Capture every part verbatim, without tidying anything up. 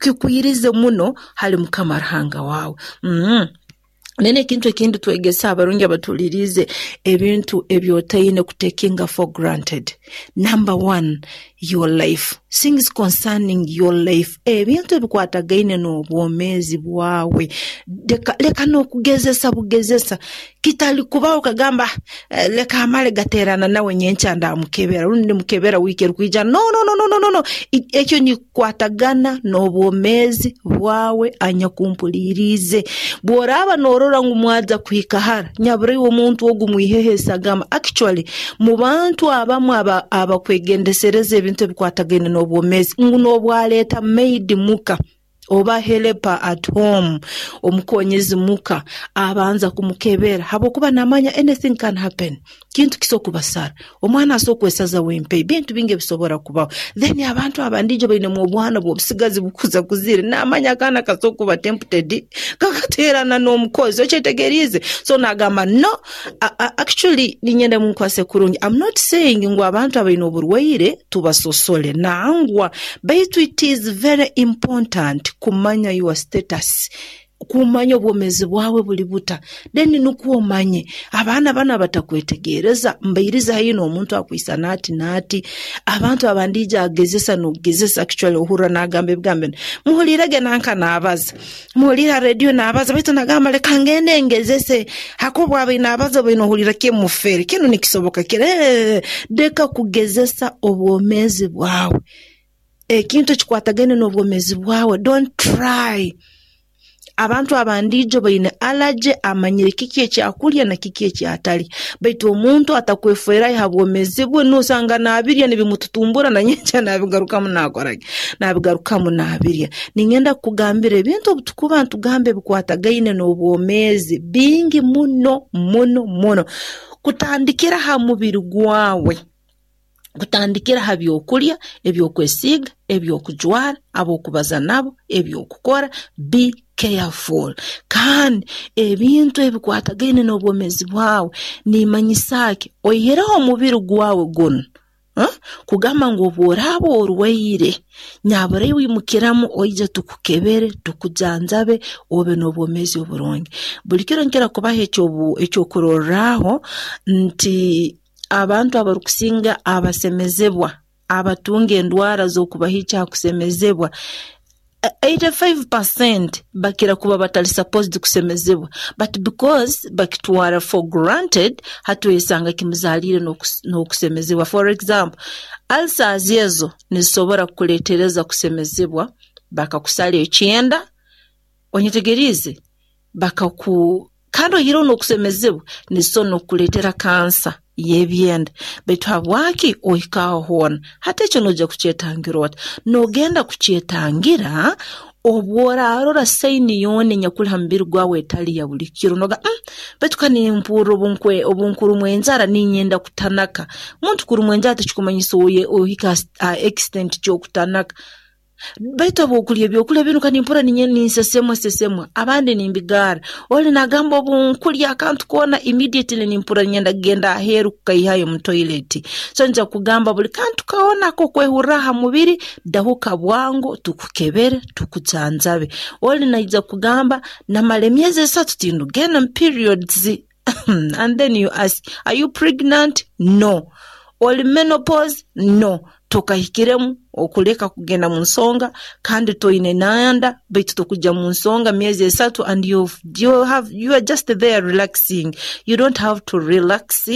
Kikwirize muno hali Mukama Ruhanga waawe. Mm. Then ekintu ekindi twegesa abarungi abatuhuliriize, ebintu ebi otaine kutakinga for granted. Number one, your life. Things concerning your life. Ebintu ebikwatagaine n'obwomeezi bwawe. Leka, leka n'okugezesa bugezesa. Kitali kubaho okagamba, "Eh, leka amale gateerana nawe, nyenkya ndamukebera rundi ndimukebera wiiki erukwija." No, no, no, no, no, no, no. Ekyo nikikwatagana n'obwomeezi bwawe. Anyakumpuliriize, bw'oraaba noorora ngu mwaza kuhika hara, nyabura iwe omuntu ogu mwiheho esagama. Actually, mu bantu abamu aba abakwegendesereza ebintu ebikwatagaine n'obwomeezi, ngu n'obwaleeta maid muka oba helper at home, omukonyezi muka, abanza kumukebera habwokuba namanya anything can happen. Kintu kisobola kubasara, omwana asobola kwesaza wempeyi, bintu bingi ebisobora kubaho. Then abantu abandijo bainemu obwana bw'obusigazi bukuza kuzire, namanya akaana kasobola kuba tempted kakateerana n'omukozi, okyetegeriize? So nagamba no. Actually, ninyenda munkwase kurungi. I'm not saying ngu abantu abaine oburwaire tubasosole, nangwa, baitu it is very important kumanya your status, kumanya obwomeezi bwawe buli buta, then nukwo omanye abaana banu abatakwetegereza mbairize haihi n'omuntu akwisana ati n'ati. Abantu abandiija agezesa n'okugezesa. Actually, ohurra n'agamba ebigambo binu, muhulirege nanka naabaza, muhulire ha rediyo naabaza, baitu nagamba, "Leka ngende ngezese," hakuba bwabaire naabaza obaine ohulira kimufere kinu nikisoboka kire. Leka kugezesa obwomeezi bwawe. Ekintu ekikwatagaine n'obwomeezi bwawe, don't try. Abantu abandiijo baine allergy, amanyire kiki ekyakulya na kiki ekyatalya, baitu omuntu atakwefeerayo ha bwomeezi bwe, nosanga naabirya nibimututumbura, na nyenkya nabigarukamu, naakora ki, nabigarukamu naabirya. Ningenda kukugambira, ebintu obu tukuba ntugamba ebikwatagaine n'obwomeezi bingi muno muno muno, kutandikira ha mubiri gwawe, kutandikira ha byokulya, ebyokwesiiga, ebyokujwara, ab'okubaza nabo, ebyokukora. Be careful. Kandi ebintu ebikwatagaine n'obwomeezi bwawe nimanyisa ki? Oihireho omubiri gwawe gunu, kugamba ngu obu oraaba orwaire, nyabura iwe imukiramu oije tukukebere, tukujanjabe, obe n'obwomeezi oburungi. Buli kiro nkira kubaha ekyokurorraho nti abantu abarukusinga abasemezebwa, abatunga endwara z'okubahikya ha kusemezebwa, eighty-five percent bakira kuba batali supposed kusemezebwa, but because bakitwara for granted, hati oyesanga kimuzaliire n'okusemezebwa. For example, ulcers ezo nizisobora kukuleetereza kusemezebwa, bakakusara ekyenda, onyetegeriize? Bakaku kandi oihireho n'okusemezebwa, nizisobora n'okukuleetera kansa y'ebyenda. Baitu habwaki ohika aho hoona? Hati ekyo noija kukyetangira ota? Noogenda kukyetangira obu oraarora sign yoona enyakuli ha mubiri gwawe etali ya buli kiro. Nogamba, mm, baitu ka nimpurra obu nkurumwa enjara ninyenda kutanaka." Muntu kurumwa enjara tikikumanyisa ohika ha extent ky'okutanaka, baitu obu okulya ebyokulya binu, ka nimpurra ninsesemwa sesemwa, abandi nimbigarra. Oli nagamba, "Obu nkulya akantu koona, immediately nimpurra ninyenda kugenda aheeru kukaihayo mu toilet." So nja kugamba, buli kantu koona ak'okwehurra ha mubiri, dahuka bwangu tukukebere, tukujanjabe. Oli naija kugamba, "Namara emyezi esatu tindugenda mu periods," and then you ask, "Are you pregnant?" "No." "Oli menopause?" "No." Tokahikiremu okuleka kugenda mu nsonga, kandi toine nanda, baitu tokujya mu nsonga myezi esatu, and you, you, have, you are just there relaxing. You don't have to relax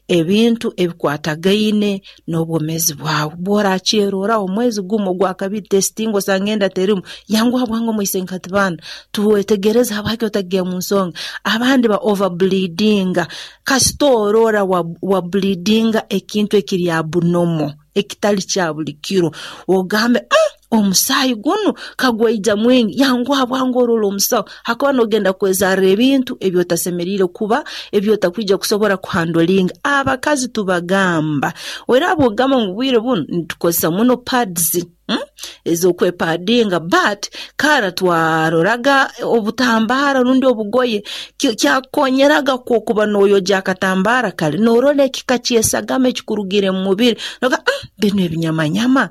ebintu ebikwatagaine n'obwomeezi bwawe. Bw'orakyeroraho omwezi gumu, ogwa kabiri, testing osanga enda terimu, yanguha bwangu omwise nkati baana tuwetegereze habwaki otagenda mu nsonga. Abandi ba overbleedinga. Kasita orora wa, wa bleedinga ekintu ekiri abnormal, ekitali kya buli kiro, ogambe, mm, omusaayi gunu kagwaija mwingi," yanguha bwangu orora omusawo, hakuba nogenda kwezarra ebintu ebyotasemeriire kuba, ebyotakwija kusobora kuhandlinga. Abakazi tubagamba, oraaba ogamba ngu bwire bunu nitukozesa muno pads, hmm? ez'okwepadinga, but kara twaroraga obutambara rundi obugoye. Kyakukonyeraga kwokuba noyogya akatambara kali, norora ekika kyesagama ekikurugire mu mubiri, noga, mm, binu ebinyamanyama.